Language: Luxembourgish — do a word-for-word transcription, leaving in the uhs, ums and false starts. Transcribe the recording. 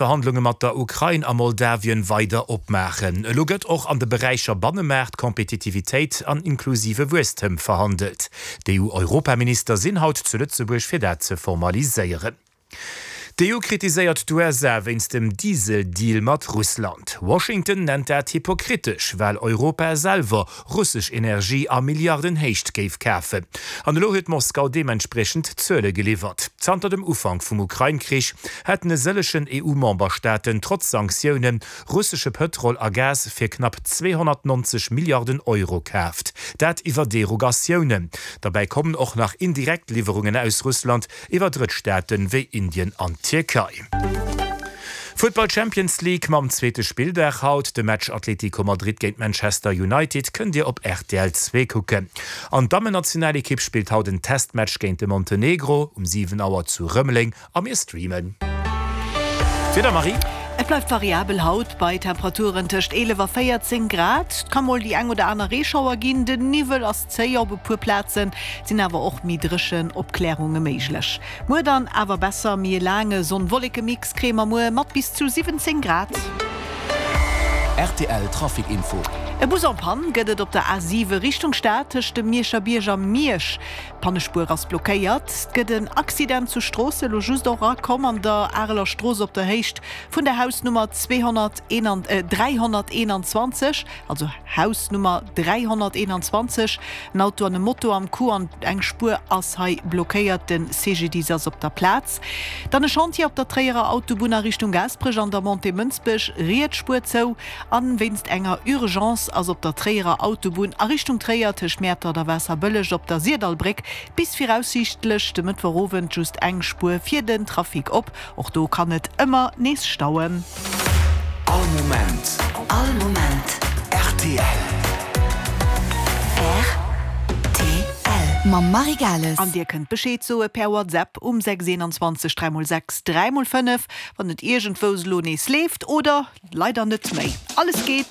Verhandlunge mat der Ukrain a Moldawien weider opmaachen. Elo gëtt och an de Beräicher Bannemaart, Kompetitivitéit an inklusive Wuesstem verhandelt. D'EU-Europaminister sinn haut zu Lëtzebuerg fir dat ze formaliséieren. D'EU kritiséiert d'USA wéinst dem Diesel-Deal mat Russland. Washington nennt dat hypokritesch, well Europa selwer russesch Energie a Milliardenhéicht géif kafen. An elo huet Moskau deementspriechend Zuele geliwwert. Zanter dem Ufank vum Ukrain-Krich hätten e sëllegen EU-Memberstaaten trotz Sanktioune russesche Pëtrol a Gas fir knapp zweehonnertneunzeg Milliarden Euro kaaft. Dat iwwer Derogatiounen. Derbäi kommen och nach indirekt Liwwerungen aus Russland iwwer Drëttstaaten wéi Indien an Tierkei. Futtball Champions League mam zweete Spilldag haut, de Match Atlético Madrid géint Manchester United kënnt Dir op rtl zwee kucken. An d'Dammennationalekipp spillt haut en Testmatch géint de Montenegro um siwen Auer zu Rëmeleng a mir streamen. D'Wieder, Marie? Et bleift variabel haut bei Temperaturen tëscht eelef a véierzéng Grad. Et ka mol déi eng oder aner Reeschauer ginn, den Niwwel ass zéi op e puer Plazen, et sinn awer och méi dréchen Opklärunge méiglech. Muer dann awer besser, méi e laange Sonn-Wolleke-Mix kréie mer muer mat bis zu siwwenzéng Grad. Rtl Trafic Info. E Bus en panne gëtt et op der A siwe Richtung Stad tëscht dem Mierscher Bierg a Miersch. D'Pannespuer ass blockéiert. Et gëtt en Accident zu Stroossen, elo just och erakomm an der Areler Strooss op der Héicht vun der Hausnummer zweehonnertdräihonnerteenanzwanzeg, also Hausnummer dräihonnerteenanzwanzeg. En Auto an e Moto am Coup an eng Spuer ass hei blockéiert. De C G D I S ass op der Plaz. Dann e Chantier op der Tréierer Autobunn a Richtung Gaasperech an der Montée Mënsbech, riets Spuer zou. An wéinst enger Urgence ass op der Tréierer Autobunn a Richtung Tréier tëscht Mäertert a Waasserbëlleg op der Syrdallbréck bis viraussiichtlech de Mëttwochowend just eng Spuer fir den Trafic op. Och do kann et ëmmer nees stauen. All Moment. All Moment. Rtl. Rtl. Mam Marie Gales. An dir kënnt Bescheed soe per WhatsApp um sechs eenanzwanzeg dräi mol sechs dräi mol fënnef, wann et iergendwous elo nees leeft oder leider net méi. Alles geet.